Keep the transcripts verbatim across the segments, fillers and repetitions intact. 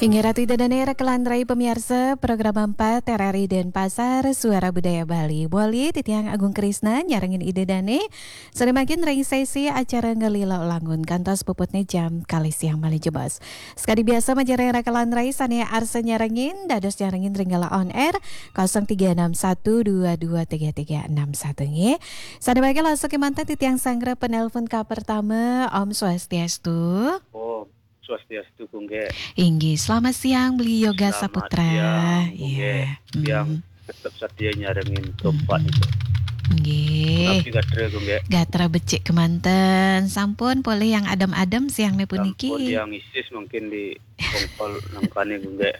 Inggih Ratu Ida Dane, raka lantarai pamiarsa program empat R R I Denpasar, Suara Budaya Bali. Boli titiang Agung Krisna nyarengin Ida Dane, sané mangkin ring sesi acara Ngelila Langun kantos puputné jam kalih siang malih jebos. Sakadi biasa majeng ring raka lantarai sané arsa nyarengin, dados nyarengin ring Gala On Air, kosong tiga enam satu dua dua tiga tiga enam satu nggih. Sané mangkin langsung kémanten titiang sanggra penelpon ka pertama. Om Swastiastu. Om Swastiastu, Gung Gé. Inggih, selamat siang, Beli Yoga Selamat Saputra. Siang, Gung Gé. Iya. Tiang Hmm. tetep satia nyarengin Gung Pak Hmm. itu. Nggih. Punapi gatra, Gung Gé? Gatra becik kemanten. Sampun polih yang adem-adem siangnya puniki. Sampun yang isis mungkin di kongkol nangkane, Gung Gé.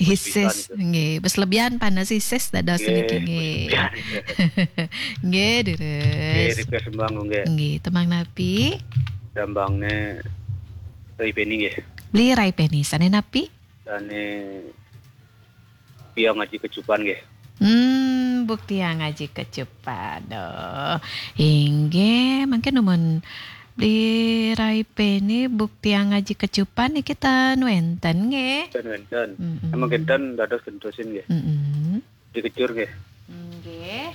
Isis, nggih. Bes lebihan panas isis dados niki, nggih. Nggih, lebihan. Nggih, deres. Nggih, request tembang, Gung Gé. Nggih, tembang napi? Tembangnya Rai Peni, nggih. Beli Rai Peni, sané napi? Sané Bukti Ngaji Kecupan, nggih. Hmm, Bukti Ngaji Kecupan. Oh, inggih, mangkin numun Beli Rai Peni, Bukti Ngaji Kecupan niki ten wénten, nggih. Ten wénten. Mm-mm. Emang kinten dados gentosin, nggih. Mm-mm. Dikejur, nggih. Nggih.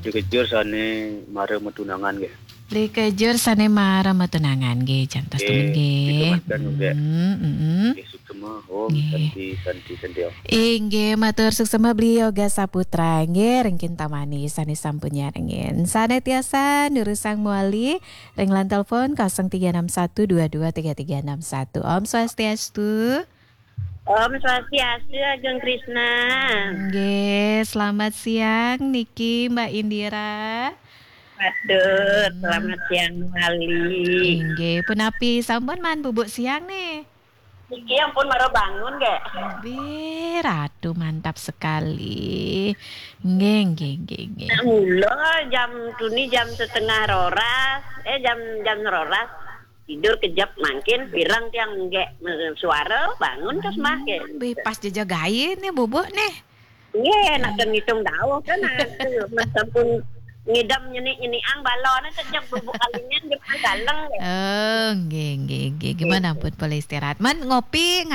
Dikejur sané mara matunangan, nggih. Dikejur sané mara matunangan, nggih. Jantos temen, nggih. Dikejur, nggih. Hmm, mm-mm. Nggih, suksema. Om Santi, Santi, Santi, Om. Inggih, matur suksema Beli Yoga Saputra. Nggih, ring kintamani sané sampun nyarengin. Sané tiasa nurusang malih ring line telepon kosong tiga enam satu dua dua tiga tiga enam satu. Om Swastiastu. Om Swastiastu, Agung Krisna. Nggih, selamat siang niki Mbak Indira. Waduh, hmm. Selamat siang malih. Inggih, punapi sampun maan bubuk siang nih? Niki ampun mara bangun, nggih. Wih, Ratu mantap sekali. Nggih, nggih, nggih, nggih. Mula jam tuni jam setengah roras, eh, jam, jam roras. Tidur kejep mangkin, pireng tiang nggih suara bangun terus mangkin. Wih, pas jejak gaé nih bubuk nih. Nggih, nak ngitung dawuh kan, aku, mas sampun ngidam nyenik-nyenikan balone, sejak bubuk kalinya nggih, galeng, nggih. Oh, nggih, nggih, nggih. Gimana pun boleh istirahat. Man, ngopi